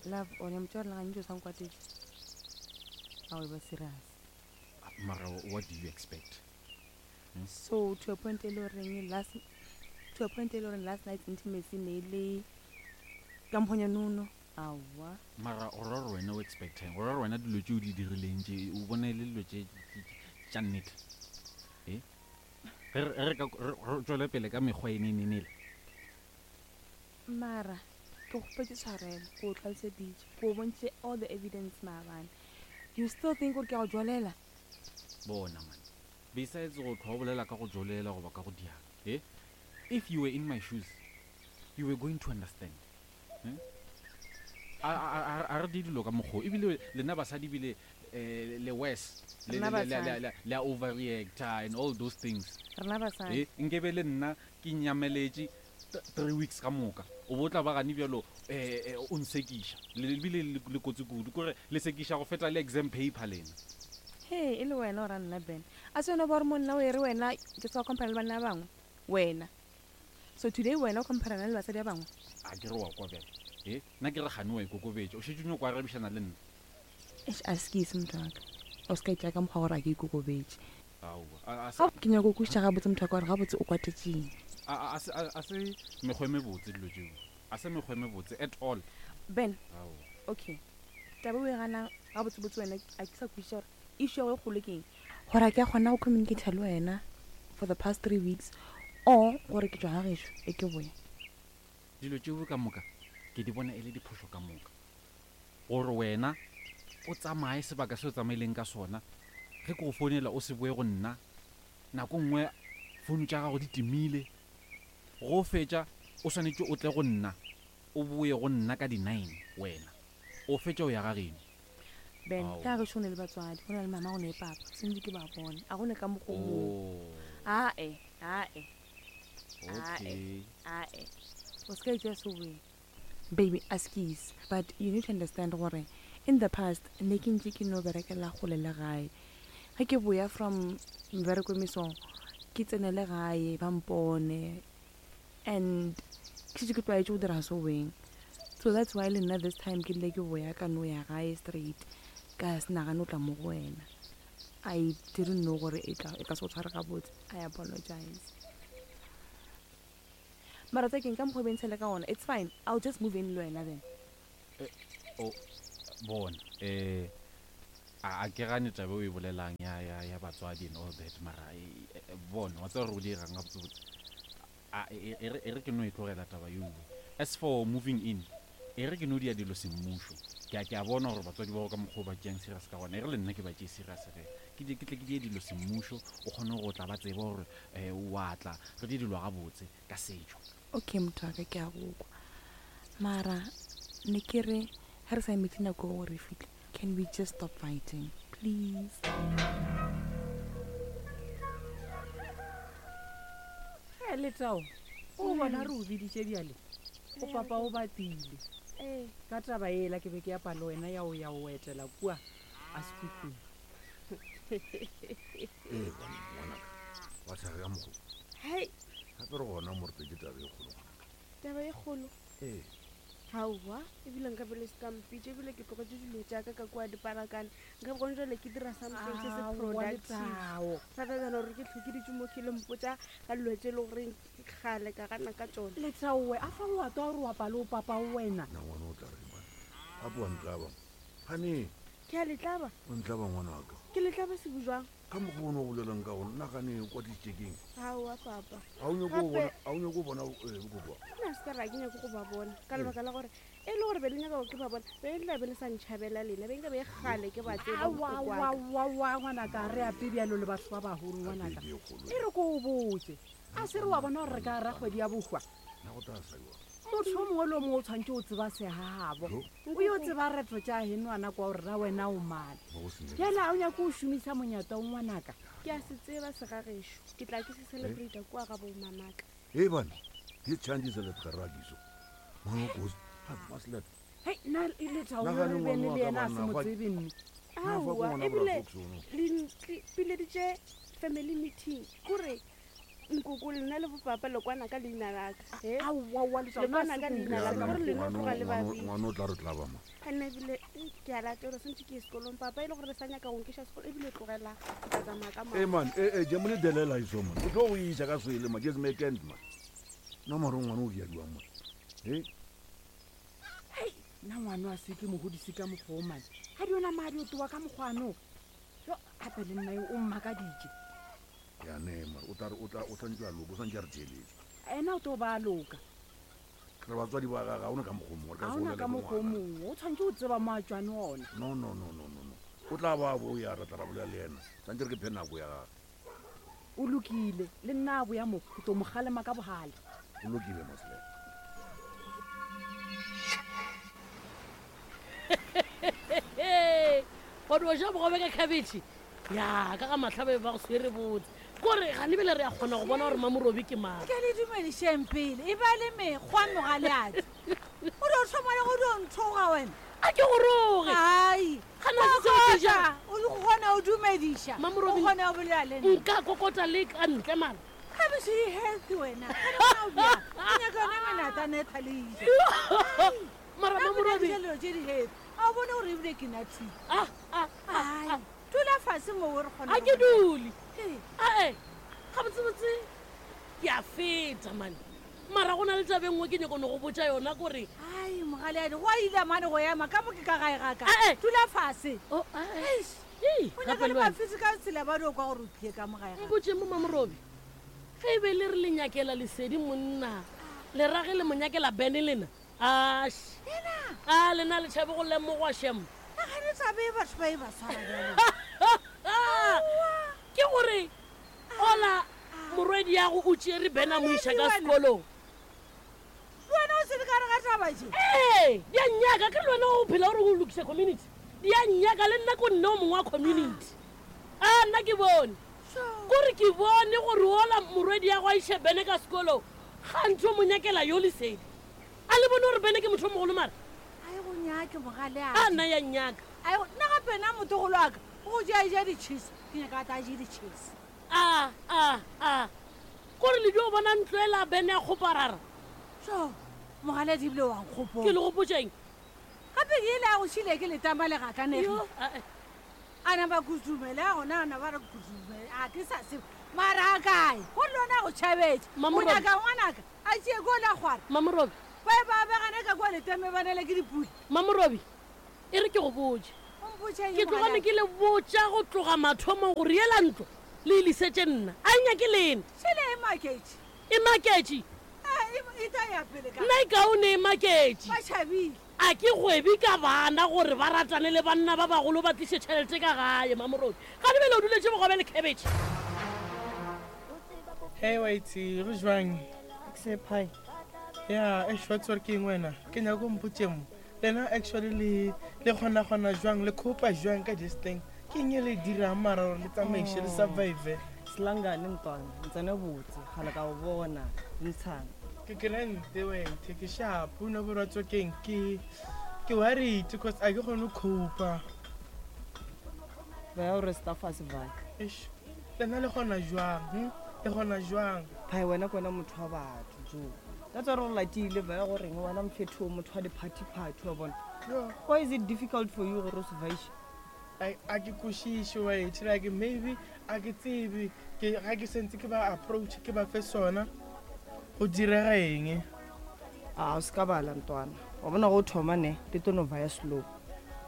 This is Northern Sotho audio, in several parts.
Love, o ne motho wa gantši o sa nkwatetše. A o e ba serious. Mara what do you expect? Hmm? So to a point e le goreng last to a point e le goreng last night's intimacy ne e le ka mponya nono. Aowa. Mara o ra gore wena o expectang? O ra gore wena dilo tše o di dirileng tše o bona e le dilo tše tša nnete? E? Ge re ka re tšwele pele ka mekgwa e nenenele. Mara ke kgopetše tshwarelo, ke o tlhaloseditše, ke o bontšhitše all the evidence maabane. You still think gore ke a go jolela? Bona man, besides go tlhwa o bolela ka go jolela goba ka go diana, eh? If you were in my shoes, you were going to understand. Eh? A, a, a, a re di dilo ka mokgwa o. Ebile lena basadi ebile eh, le worse. Le, Rena le, le, le, basadi. le, le a overreacta and all those things. Rena basadi. Eh, nkebe le nna ke nyameletše 3 weeks ka moka o bo tla ba gane bjalo um o nsekiša ebile le kotsi kudu kore le sekiša go feta le exam paper lena. He e le wena o ra nna Ben a se wena ba gore monna o e re wena ke sa compare le banna ba bangwe wena so today wena o compare le basadi ba bangwe. A ke re wa kwa bjale e nna ke re gane wa ikokobetša o šetše o nyoko arabišana le nna. Eish askies motho wa ka o se ka itšea ka mokgwa gore a ke ikokobetše. Aowa, a, a se. Ga, ke nyaka go kwešiša gabotse motho wa ka gore gabotse o kwatetšeng. A, a, a se, a, a se mekgwa e mebotse dilo tšeo. A se mekgwa e mebotse at all. Ben, Aowa. okay. Taba e o e ganang gabotsebotse wena a ke sa kwešiša gore issue ya go e kgolo ke eng. Gore a ke a kgona go communicate le wena for the past 3 weeks or gore ke tšwa ga gešo e ke boya. Dilo tšeo ka moka ke di bona e le diphošo ka moka. Gore wena o tsamaye sebaka se o tsamaileng ka sona, ge ke go founela o se boe go nna, nako nngwe founu tša gago di timile, go fetša o swanetše o tle go nna, o boe go nna ka di-nine wena o fetša o ya ga geno. Ben, Ao. ka gešo go ne le batswadi, go na le mama go ne le papa, sentše ke ba bone, a go ne ka mokgo moo. Oh. Ae, ae, ae, Okay. ae, o se ka itšea seweng. Baby, askies, but you need to understand gore in the past ne ke ntše ke no berekela kgole le gae. Ge ke boya from mebereko mesong, ke tsenele gae ba mpone and ke šetše ke tlwaetše go dira seweng. So that's why le nna this time ke rile ke boya ka no ya gae straight ka se nagane go tla mo go wena. I didn't know gore e tla e ka se go tshware gabotse. I apologize. Mara tsa keng ka mokgwa o be ntshele ka gona it's fine I'll just move in le wena then. O bona eh a a ke gane taba e o e bolelang ya ya ya batswadi and all that mara e, e, e, bona wa tseba gore o dirang gabotsebotse a e e re e re ke no e tlogela taba yeo. As for moving in e re ke no dia dilo semmušo. Ke a ke a bona gore batswadi ba gago ka mokgwa o ba tšeang serious ka gona e re le nna ke ba tšee serious ge ke di ke tle ke die dilo semmušo o kgone go tla ba tseba gore eh o a tla re die dilo gabotse ka setšo. Okay motho wa ka ke a go kwa mara ne ke re ge re sa emetše nako eo gore e fihle can we just stop fighting please. Ge Letao o bona re o biditše bjale o papa o batile Ee. ka taba ela ke be ke apa le wena ya o ya o etela kua a sekhukhung. Ee, banna, ngwanaka, wa tshega ka mokgo. Hei. Gape re gona mo re tletše taba e kgolo, ngwanaka. Taba e kgolo? Ee. Aowa, ebile nka be le se ka mpitša, ebile ke tlogetše dilo tša ka ka kua diparakane. Nka be gone jwale ke dira something se se Aowa, productive. Letao. Rather than gore ke hlwe ke dutše mo ke le mpotša ka dilo tše e le goreng ke kgale ka gana ka tšona. Letaowe, a fa o a twa gore o apa le o papa wena? Na ngwana o tla reng banna? Gape wa ntlaba. Gane. Ke a le tlaba. O ntlaba ngwanaka. Ke le tlaba sebu jwang? Ka mokgwa o ne o bolelang ka gona, nna gane o kwatisitše keng? Aowa papa. Ga o nyake go Gape- bona, ga o nyake go bona eh, bokokoa? Nna se ka ra ke nyake go ba bona ka lebaka la gore e le gore be le nyaka gore ke ba bona be le tla be le sa ntšhabela lena be nka be kgale ke ba tseba bohloko wa ka. Aowa ngwanaka re ape bjalo le batho ba bagolo ngwanaka. Gape e kgolo. E re ko o botse a se re wa bona gore re ka ra kgwedi ya bohwa Nna go tla sa jwang? Motho yo mongwe le yo mongwe o tshwanetse o tseba segagabo. Jo. O yo tseba reto tša henwana kwa gore ra wena o mane. Mo go senyegile. Bjale a o nyake o šomisa monyata o ngwanaka? Ke a se tseba segagešo. Ke tla ke se celebrate kua ga bomamaka. Hei bana, di tšhantše se letlharakiso. Ngwana o kotsi. Gape ba se let. Hei, nna Lethabo Nagane re ngwana bene wa le ka yena a se banna, mo fa- tsebe mme. Na fa ke Aowa, ngwana ebile Bra Fox ono. le ntle- pileditše family meeting. Kore. Nkoko lena le bopapa le kwana ka leina laka. He? Aowaowa Le kwana ka leina Ya, laka gore lena tloga le babedi. Ngwana o tla re tlaba ma. Nna ebile ke a latelwa santse ke ye sekolong papa e le gore le sa nyaka go nkiša sekolo ebile tlogela ke tla tsamaya ka e man e e jemole delela iso man o tlo go isa ka swele ma just make end man nna mare ngwana o diadiwang man e hei nna ngwana a se ke mogodise ka mokgwa o mane ga di ona madi o towa ka mokgwano yo gape le nna yo o mmakaditše ya ne mare o tla re o tla o santse a loka o santse a re theeletše ena o tlo ba a loka re batswadi ba gage ga ona ka mokgwa o mongwe re ka ga se ona bolele ka le mokgwa o ngwana. mongwe o tshwanetse o tseba mo a tswane ona no no no no no no o tla ba bo ya re tla ra bolela le ena santse re ke phe nako ya gage o lokile le nna a boya mo ke tlo mo galema ka bogale o lokile masle wa di ja bogobe ka khabetšhe ya ka ga matlhabe ba go swere botse kore gane bele re a kgona go bona gore mamorobi ke mang ke le dumedišeng pele e ba le mekgwa mogaleadi o dio thoma le go dio nthoga wena a ke goroge ai Gana se seo ke jang? o kgona o dumediša o Mamorobi- kgona go bolela le nna nka kokota le ka ntle mara khabetšhe e healthy wena Gane wena o bjang? O nyaka yona menatana e thaleile mara mamorobi dilo tse di healthy a o bone gore ebile ke nathile ah, ah, ai dula fase moo re kgona a go ke bolela. dule Ee. ae gabotsebotse ke a feta mane mara go na le tabe nngwe ke nyako ne go botsa yona kore ai mogaleadi go a ile mane go ema ka mo ke ka gae ga ka Eh, eh. dula fase Oh, ae. Eish. Ei, o gape nyaka le le wena. bafisi ka tsela ba dio kwa gore o tlile ka mo gae ga mpotse mo mamorobi ge e be le re le nyakela lesedi monna le rage le mo nyakela bene lena ash a lena le tšhabe go lemogwa shem nagane tsabe e batho ba e ba tshwara bjalo ke gore ola morwedi yago o tšere bene a mo iša ka sekolong le wena o sele ka re ga taba je ee di a nnyaka ke le wena o phela gore o lokisa community di a nnyaka le nna ko nne o mongwe wa community a nna ke bone kore ke bone gore ola morwedi ya go a iše bene ka sekolong gantsi o mo nyakela yo lesedi a le bone gore bene ke motho o mogolo mara ai go nyake mogale a nna ya nnyaka ai nna gape nna motogolo wa ka o ja ja di-cheese ke nyaka a ta je di-cheese a a a kore le dio bona ntlo ela bene ya kgoparara so mogale di ebile wankgopo ke le gopotseng gape ke ile ya go šhile ke letama le gakanege Yo, ae. a na ba kutumele a gona ana ba re kutumele a ke sa sebe mara a kae go le lona go tšhabetse o Mamorobi. nyaka ngwanaka a tšee ko la kgwara mamorobi ba e ba begane ka kwa letame ba nele ke dipula mamorobi e re ke go botse o mpotša eng ke tlogane mogaleadi? ke le botša go tloga mathomong gore ela ntlo le e lisetse nna a e nyake lena šhele e maketše e maketše Eh, e tla ya pele ka nna e kaone e maketše ba tšhabile a ke kgwebe ka bana gore ba ratane le banna ba bagolo ba tliše tšhelete ka gae mamorobi ga lebele o duletse bogobe le cabbage Hey waitse go jwang Sephai. ya eish wa tsore ke eng wena ke nyaka o mpotse mo lena actually le le kgona-kgona jwang le copa jwang ka this thing ke eng e le dirang mara gore le tsamaiše le survive Selangane ntwana, ntsene botse, gale ka o bona, ntshang. ke grante wethe ke sharp o ne borwa tswa keng ke ke worried cause a ke kgone go copa Ba ya o resta fase vai. eish lena le kgona jwang Le kgona jwang Phai wena ke wena motho wa batho jo. That's why re go latile ba ya goreng wena mfetho o motho wa di-party-party wa bona. Why is it difficult for you gore o survive? Like, a ke kwešiše wethe like maybe a ke tsebe ke ga ke sentse ke ba approach ke ba fe sona go direga eng A o se ka bala ntwana. Wa bona go thoma ne, di tlo no vaya slow.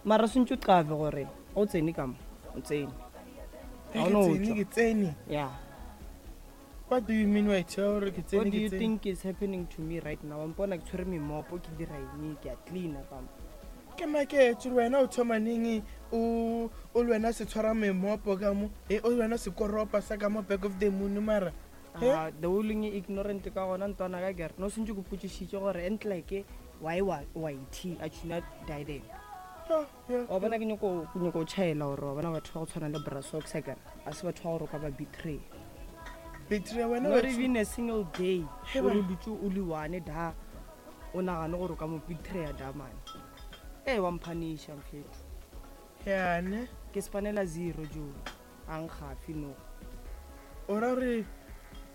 Mara sentse o qave gore o tsene ka mo, o tsene. Ge Ha o ke no tsene tswa. ke tsene Yeah. what do you mean wethe gore ke tsene What do ke you tsene think is happening to me right now? Wa mpona ke tshwere memopo ke dira eng ke a cleaner ka mo. ke maketse gore wena o thoma neng o o le wena se tshwara memopo ka mo e o le wena sekoropa sa ka mo back of the moon mara Eh? Ah, the o leng ignorant ka gona ntwana ka kere no sentse ke potsišitše gore entleke why wa it a tšhuna didem wa bona ke nyako ke nyako o tšhaela gore wa bona batho ba go tshwana le brasox akere a se batho ba gore o ka ba betray betray wena not wa- even a single day He o re bana. dutse o le one da o nagane gore o ka mo betraya da mane ee wa mphanisha mfetho yane ke spanela zero jo a nkgafe no o ra gore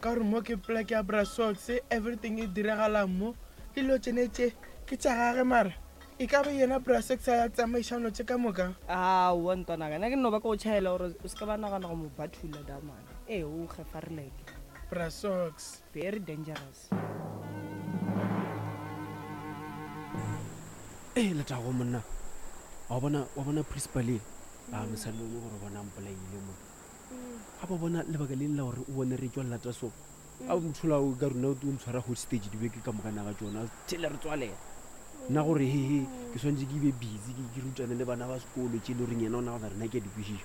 Ka gore mo ke plek ya Brasox, everything e diragalang mo. Dilo tšene tše ke tša gage mara e ka be yena Brasox a tsamaiša dilo tše ka moka? Aowa ntwanaka, nna ke no ba ke go tšhaela gore o se ke ba nagana go mo bathula damane. Ee, o kgefarileke. Brasox. Very dangerous. Ee, letago monna. Wa bona, wa bona principal e? A mosadi o gore bona mpolaile mo. Ga ba bona lebaka le la gore o bone re tšwa lata so. A mothola o ka rona o ntshwara hostage dibeke ka moka naga tšona. Tshele re tswalela. Nna gore he he ke swantse ke be busy ke ke rutane le bana ba sekolo tše le goreng yena o nagana rena ke a di kwešiša.